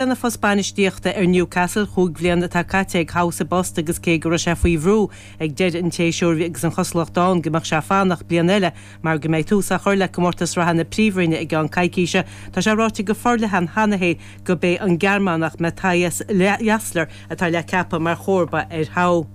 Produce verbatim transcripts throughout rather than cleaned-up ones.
Lena phost bainistíochta ar Newcastle chúig bhliana atá caite ag Howe sa bpost agus cé go raibh sé faoi bhrú ag deireadh an tséasúir agus an chosúlacht ann go mbeadh sé fanacht bliain eile mar go mbeidh tús á chur le comórtas reatha na Príomhroinne i gceann coicíse, tá sé ráite go forleathan cheana féin gurb é an Gearmánach Matthias Jaissle atá le ceapadh mar chomharba ar Howe.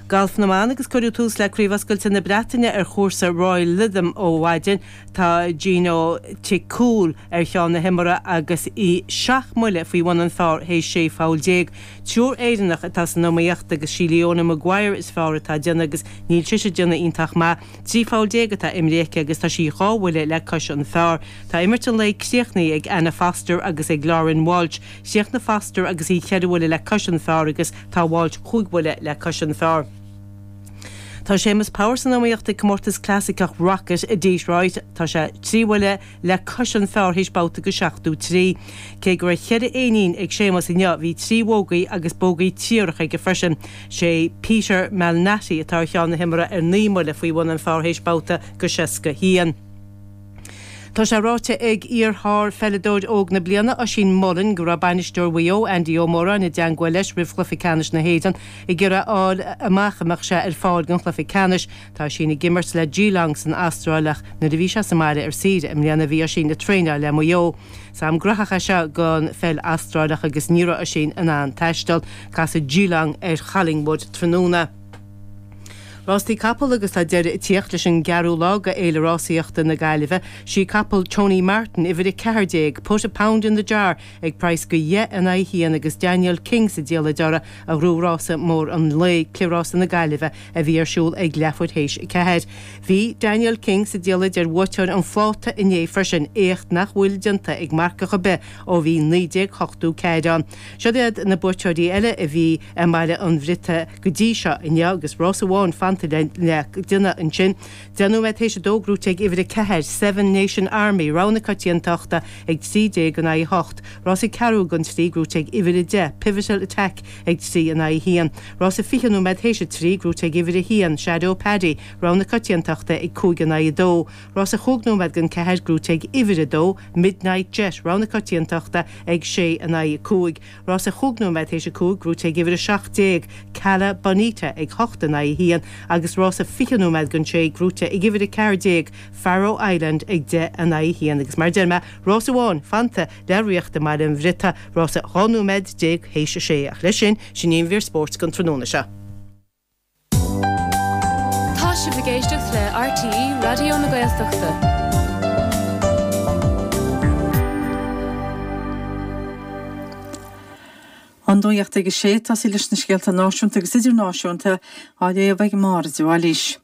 Galf na mban agus cuireadh tús le Craobh Oscailte na Breataine ar chúrsa Royal Lytham ó mhaidin. Tá Jeeno Thitikul ar cheann na himeartha agus í seacht mbuille faoi bhun an phar théis sé pholl déag. Triúr Éireannach atá san iomaíocht agus sí Leona Maguire is fearr atá ag déanamh agus níl sise ag déanamh iontach maith. Trí pholl déag atá imrithe aici agus tá sí dhá bhuille le cois an phar. Tá imirt an lae críochnaithe ag Anna Foster agus ag Lauren Walsh. Chríochnaigh Foster agus í ceithre bhuille le cois an phar agus tá Walsh cúig bhuille le cois an phar. Tá Séamus Power san iomaíocht ag comórtas clasaiceach Rocket i Detroit. Tá sé trí bhuille le cois an phar théis babhta go seachtó trí. Cé go raibh ceithre éinín ag Séamus inniu bhí trí bhógaí agus bógaí triarach aige freisin. Sé Peter Malnati atá ar cheann na himeartha ar naoi mbuille faoi bhun an phar théis babhta go seasca haon. Tá sé ráite ag iar-shárpheileadóir óg na bliana Oisín Mullin go raibh bainisteoir Mhaigh Eo Andy Ó Móráin i dteagmháil leis roimh chluiche ceannais na hÉireann ag iarraidh a fháil amach an mbeadh sé ar fáil don chluiche ceannais. Tá Oisín ag imirt le Geelong san Astráil ach nuair a bhí sé sa mbaile ar saoire i mbliana bhí Oisín ag traenáil le Maigh Eo. Is am graitheach é seo don pheil Astrálach agus ní raibh Oisín in ann taisteal. Casfaidh Geelong ar Collingwood tráthnóna. Rástaí capall agus tá deireadh ag tíocht leis an gceathrú lá de Fhéile Rásaíochta na Gaillimhe. Sí capall Tony Martin uimhir a ceathair déag, Put a Pound in the Jar ag praghas de dheich in aghaidh a haon agus Daniel King sa diallait uirthi a ghnóthaigh rása mór an lae, Cliathrás na Gaillimhe a bhí ar siúl ag leathuair théis a ceathair. Bhí Daniel King sa diallait ar bhuaiteoir an phláta inné freisin, éacht nach bhfuil déanta ag marcach ar bith ó bhí naoi déag ochtó ceathair ann. Siod iad na buaiteoirí eile a bhí i mBaile an Bhriotaigh go dtí seo inniu agus rás amháin fanta le déanamh ansin. Deich nóiméad théis a dó gnóthaithe ag uimhir a ceathair, Seven Nation Army, rogha na coitiantachta ag trí déag in aghaidh a hocht. Rás ceathrú don trí gnóthaithe ag uimhir a deich, Pivotal Attack ag trí in aghaidh a haon. Rás fiche nóiméad théis a trí gnóthaithe ag uimhir a haon, Shadow Paddy, rogha na coitiantachta ag cúig in aghaidh a dó. Rás chúig nóiméad don ceathair gnóthaithe ag uimhir a dó, Midnight Jet, rogha na coitiantachta ag sé in aghaidh a cúig. Rás chúig nóiméad théis a cúig gnóthaithe ag uimhir a seacht déag, Cala Bonita ag hocht in aghaidh a haon agus rás fiche nóiméad don sé gnóthaithe ag uimhir a ceathair déag, Faroe Island ag deich in aghaidh a haon agus mar a deir mé rás amháin fanta le rith i mBaile an Bhriotaigh, rás dhá nóiméad déag théis a sé ach leis sin sin í an mhír spóirt don tráthnóna seo. Tá sibh ag éisteacht le RTÉ Raidió na Gaeltachta. An nuacht ag a sé tosaí leis na scéalta náisiúnta agus idirnáisiúnta á léamh ag Máire de Bhailís.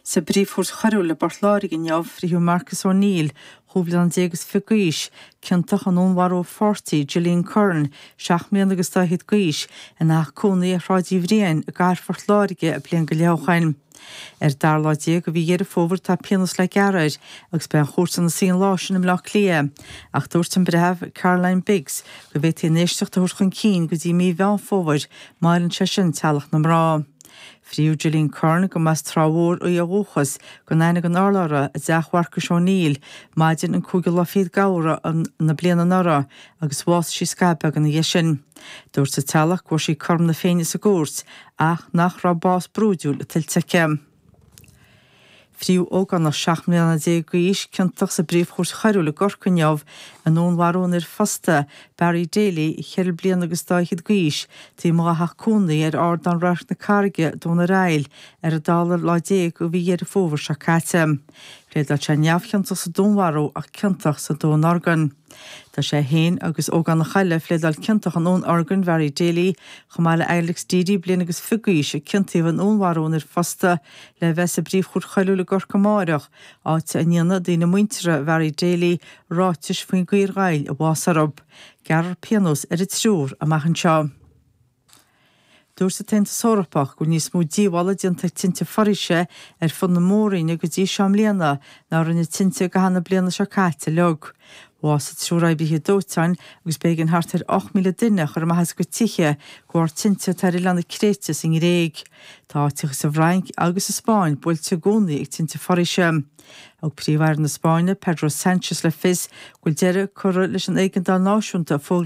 Sa bPríomh-Chúirt Choiriúil i bPort Láirge inniu, frítheadh Marcus O'Neill, dhá bhliain déag is fiche d'aois, ciontach i ndúnmharú a pháirtí, Gillian Curran, seacht mbliana agus dá fhichead d'aois, ina theach cónaí ar Shráid Uí Bhriain i gcathair Phort Láirge bliain go leith ó shoin. Ar an dara lá déag de mhí Dheireadh Fómhair atá pionós le gearradh air agus beidh an chúirt ina suí an lá sin i mBleá Cliath. Ach dúirt an Breitheamh Caroline Biggs go bhféadfaí an éisteacht a thabhairt chun cinn go dtí mí Mheán Fómhair má fheileann sé sin teaghlach na mná. Frítheadh Gillian Curran, go mb'as Trá Mhór í ó dhúchas, gan aithne gan urlabhra i dteach Mharcais O'Neill maidin an cúigiú lá fichead d'Fheabhra na bliana anuraidh agus bhásaigh sí scaitheamh beag ina dhiaidh sin. Dúirt a teaghlach go bhfuair sí cothrom na Féinne sa gcúirt ach nach raibh bás brúidiúil tuillte aici. Frítheadh ógánach seacht mbliana déag d'aois ciontach sa bPríomh-Chúirt Choiriúil i gCorcaigh inniu i ndúnmharú an fhir phósta, Barry Daly, cheithre bliana agus dá fhichead d'aois, taobh amuigh dá theach cónaí ar Ardán Radharc na Carraige, Dún ar Aill, ar an dara lá déag de mhí Dheireadh Fómhair seo caite. Phléadáil sé neamhchiontach sa dúnmharú ach ciontach sa dúnorgain. Tá sé féin agus ógánach eile a phléadáil ciontach i ndúnorgain Bharry Daly, chomh maith le Alex Deady, bliain agus fiche d'aois, a ciontaíodh i ndúnmharú an fhir phósta, le bheith sa bPríomh-Chúirt Choiriúil i gCorcaigh amáireach, áit a ndéanfaidh daoine muinteartha Bharry Daly ráitis faoin gcaoi ar ghoill a bhás orthu. Gearrfar pionós ar an triúr amach anseo. Dúirt an tAontas Eorpach go bhfuil níos mó díobhála déanta ag tinte foraoise ar fud na mór-roinne go dtí seo i mbliana ná rinne tinte i gcaitheamh na bliana seo caite uilig. Bhásaigh triúr oibrithe dóiteáin agus b'éigean thart ar ocht míle duine a chur amach as a gcuid tithe de bharr tinte atá ar oileán na Créite sa nGréig. Tá áiteacha sa bhFrainc agus sa Spáinn buailte i gcónaí ag tinte foraoise. Thug Príomh-Aire na Spáinne, Pedro Sánchez le fios go bhfuil deireadh curtha leis an éigeandáil náisiúnta a fógraíodh